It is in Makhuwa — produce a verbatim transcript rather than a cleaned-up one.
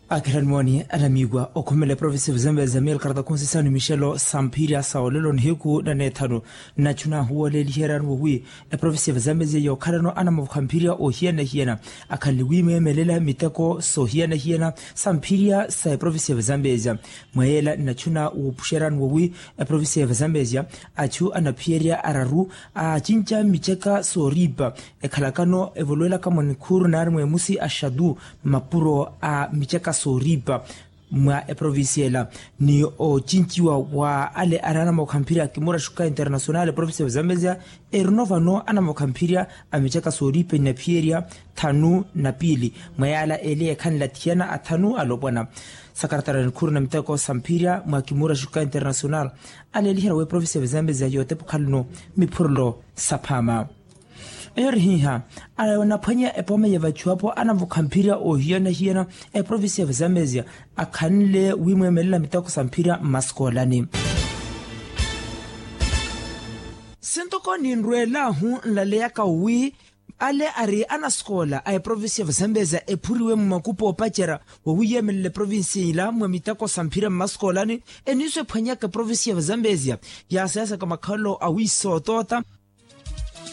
Akirani mooni anamiiwa okhumela eprovinsi ya vazambezi ya miyelo karata khunsi sano mixelo samphirya sa olelo nihiku na neethanu. Nnachu naahuwoleliheryaru wowi eprovinsi ya vazambezi ya yookhalano anamavukha mphirya oohiyana-hiyana akhanle wiimeemelela miteko soohiyana-hiyana samphirya sa eprovinsi ya vazambezi. Mwa yeela nnachu naahuwoleliheryaru wowi eprovinsi ya vazambezi achu anaphiyerya araru aacinca miceka sooriipa ekhalakano evolowelaka mwa nikhuuru naari mweemusi axatu mapuro a miceka sooriipa mwa eprovinsi ela. Ni oocinciwa wa ale ari anamokha mphirya a kimura xuka internacional eprovinsi ya vazambezia erino vano anamokha mphirya a miceka sooriipa inaphiyerya thanu na piili mwa yaala eli ekhanlathiyana athanu alopwana. Sakaratara nikhuuru na miteko sa mphirya mwa kimura xuka internacional aleeliherya wa eprovinsi ya vazambezia yootepukhaluno miphurelo saphaama. Eyo ori hiiha anaphwanya epooma ya vachuwapo anavukha mphirya oohiyana-hiyana eprovinsi ya vazambezia akhanle wimweemelela miteko sa mphirya mmaskoolani. Sintoko ninrweelahu nlaleyaka wi ale ari anaskoola a eprovinsi ya vazambezia ephuriwe mumakupu oopacerya wowiyeemelela eprovinsi ila mwa miteko sa mphirya mmaskoolani eniiso ephwanyaka eprovinsi ya vazambezia yaasayasaka makhalelo awiisootoota.